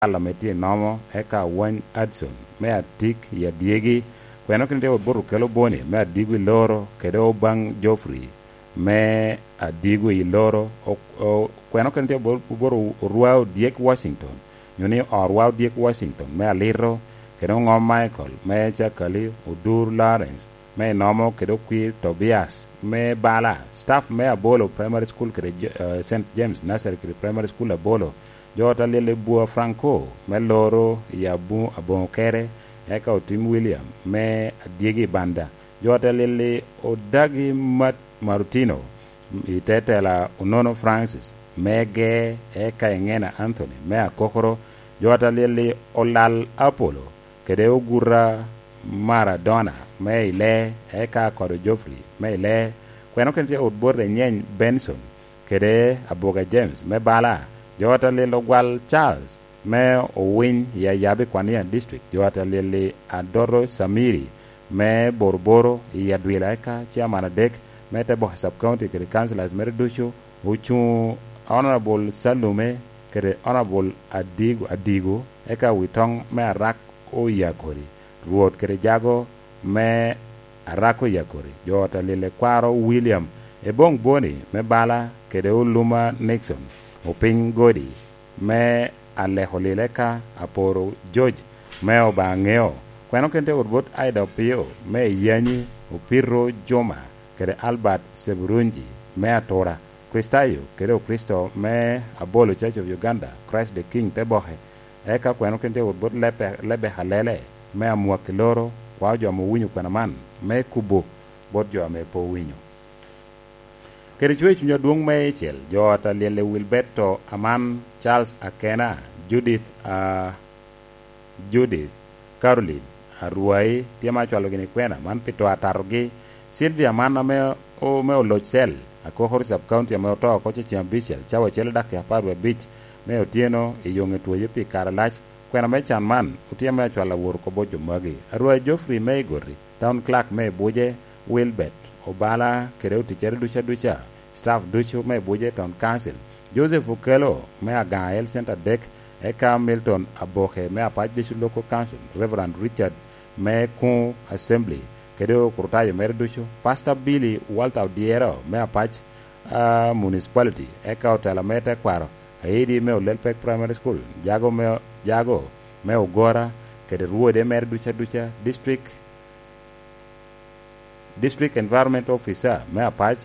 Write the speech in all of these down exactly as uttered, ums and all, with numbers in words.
Kal ame tye i Nomo, eka Wany Adson me Atik i Adyegi. Kweno kene tye wot bot Okello Boni me Adigo i Loro, kede Obang Geoffrey me Adigo i Loro. O-, o-, kweno kene tye bot, bot Orwa Odyek Washington, nyo ni Orwa Odyek Washington me Alito, kede Oŋom Michael me Cakali, Odur Lawrence me Inomo, kede Okwir Tobias me Bala, staff me Abolo Primary School kede J-, eh, Saint James Nursery kede Primary School Abolo, jo ot a lyel i Bua Franco me Loro i Abu-, Aboŋo Kere, eka Otim William me Adyegi i Banda, jo ot a lyel i Odagi Mat-, Marutino i te tela Onono Francis me Ge, eka Eŋena Anthony me Akokoro, jo ot a lyel i Olal Apollo, kede Oguta Maradona me Ile, eka Akodo Geoffrey me Ile, kweno kene tye ot bot Enyeny Benson, kede Aboga James me Bala, jo ot a lyel Ogwal Charles me Owiny i Ayabi Kwania District, jo ot a lyel i Adoto Samiri me Boroboro i Adwila, eka chairman adek me te boke sub county kede councillors mere ducu, ocuŋ Honorable Salume kede Honorable Adigo, Adigo, eka Witoŋ me Arak Oyakodi, Rwot kede jago me Arak Oyakodi, jo ot a lyel i Kwaro William Ebong Boni me Bala, kede Oluma Nixon Opiny Godi me Aleko Lile, ka Aporo George me Obaŋeo, kweno kene tye wot bot Aida Opio me Yanyi, Opito Juma, kede Albert Seburunji me Atura, Kristayo kede Okricito me Abolo Church of Uganda, Christ the King te boke, eka kweno kene tye wot bot Lebe-, Lebeka Lele me Amwaki Loro, kwao jo ame owinyo kwena man me kubo bot jo ame pe owinyo. Kede cwer i cuny adwoŋ meicel, jo ot a lyel i Wilberto Aman, Charles Akena, Judith, a, Judith, Caroline, Arwai, tye ma acwalo gini kwena man pi to atatogi, Sylvia Aman ame o-, me Oloc Cell, Akokoro Sub County ame oto oko ceŋ abicel, cawa acel i dakika apar wie abic me otyeno i yoŋe twoye pi kare alac, kwena me can man otye me acwalo awot oko bot jo magi, Arwai Geoffrey me Igoti, Town Clerk me Ibuje, Wilbert Obala kede oticcere ducu aduca, staff ducu me Ibuje Town Council, Joseph Okello me Agaŋa Health Centre adek, eka Milton Aboke me Apac District Local Council, Reverend Richard me Kuŋ Assembly, kede okrutayo mere ducu, Pastor Billy Walter Odyero me Apac, ah, Municipality, eka otela me tekwaro, Aidi me Olelpek Primary School, jago me, jago me Ogora, kede rwode mere ducu aduca, District District Environment Officer me Apac,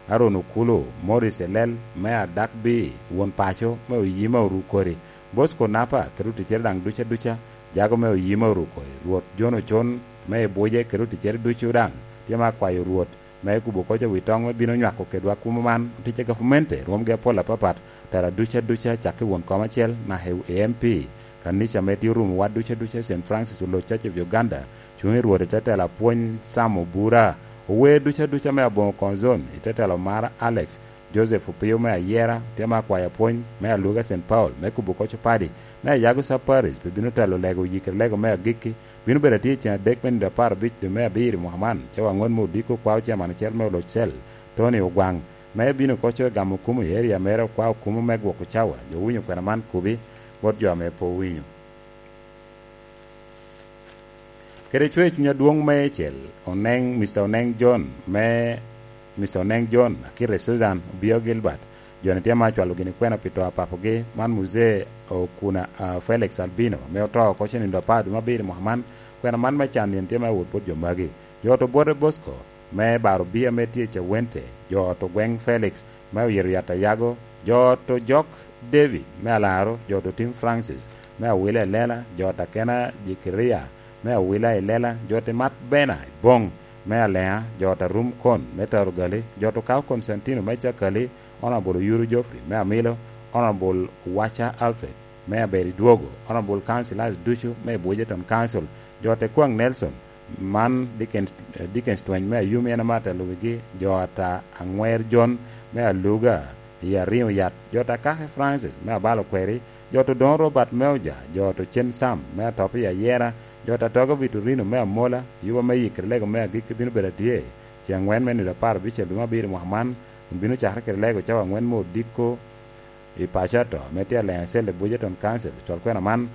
Aaron Okulu, Morris Elel me Adakbi, won paco me Oyima Orukori, Bosco Napa kede oticcere daŋ ducu aduca, jago me Oyima Orukori, Rwot John Ocon me Ibuje kede oticcere ducu daŋ tye me akwayo Rwot me kubo koc wi toŋ me bino nywako kedwa kumo man. Oticce gavumenti rwomgi apol apapat, tela ducu aduca, cakke i won kom acel naka i M P, kanica ame tye orumo wa ducu aduca, Saint Francis Oloc Church of Uganda, cuŋ i Rwot i te tela apwony Sam Obura, ower ducu aduca me Aboŋo Konzon i te tela Omara Alex, Joseph Opio me Ayera, tye me akwayo apwony me Aluga Saint Paul, me kubo koc opadi, me Ayago Sub Parish, pe bino telo lego oyikere lego me agikki, bino bedo atye i ceŋ adek me nino apar abic dwe me abiro i mwaka man, cawa aŋwen me odiko kwao chairman acel me Oloc Cell, Tony Ogwaŋ, me bino koco gamo kumo i area mere, okwao kumo me gwoko cawa, jo owinyo kwena man kubi bot jo ame pe owinyo. Kede cwer i cuny adwoŋ meicel, Oneŋ, Mister Oneŋ John, me Mister Oneŋ John, akite Susan Obio Gilbert, jo-ni tye ma acwalo gini kwena pi to a papogi, man Muzee Okuna, ah, Felix Albino, ame oto oko cen nino apar dwe me abiro i mwaka man, kwena man me can yen tye ma wot bot jo magi. Jo ot Obwote Bosco, me Baro Bia ame tye i Cawente, jo ot Ogweŋ Felix, me Oyito Yat Ayago, jo ot Ojok David, me Alaro, jo ot Otim Francis, me Awila i Lela, jo ot Akena Jekeria, me Awila i Lela, jo ot Imat Bena i Boŋ, me Aleŋa, jo ot Arum Kon, me Tarugali, jo ot Okawo Konstantino, me Cakali, Honorable Oyuru Geoffrey, me Amilo, Honorable Wacha Alfred, me Aberidwogo, Honorable Councillors ducu me Ibuje Town Council, jo ot Ekwaŋ Nelson, man Dickens, eh, Dickens Tweny me Ayumi en ame atelo wigi, jo ata Aŋwer John me Aluga i Ariŋo Yat, jo ata Kake Francis me Abalo Kweri, jo ot Odoŋo Robert me Oja, jo ot Ocen Sam me Atop i Ayera, jo ot Atogo Vitorino me Amola, yuba me yikere lego me agikki bino bedo atye ceŋ aŋwen me nino apar abicel dwe me abiro mwaka man, kun bino cakere kede lego cawa aŋwen me odiko, I paco ato, ame tye aleŋ acel i Bridgerton Council, col kwena man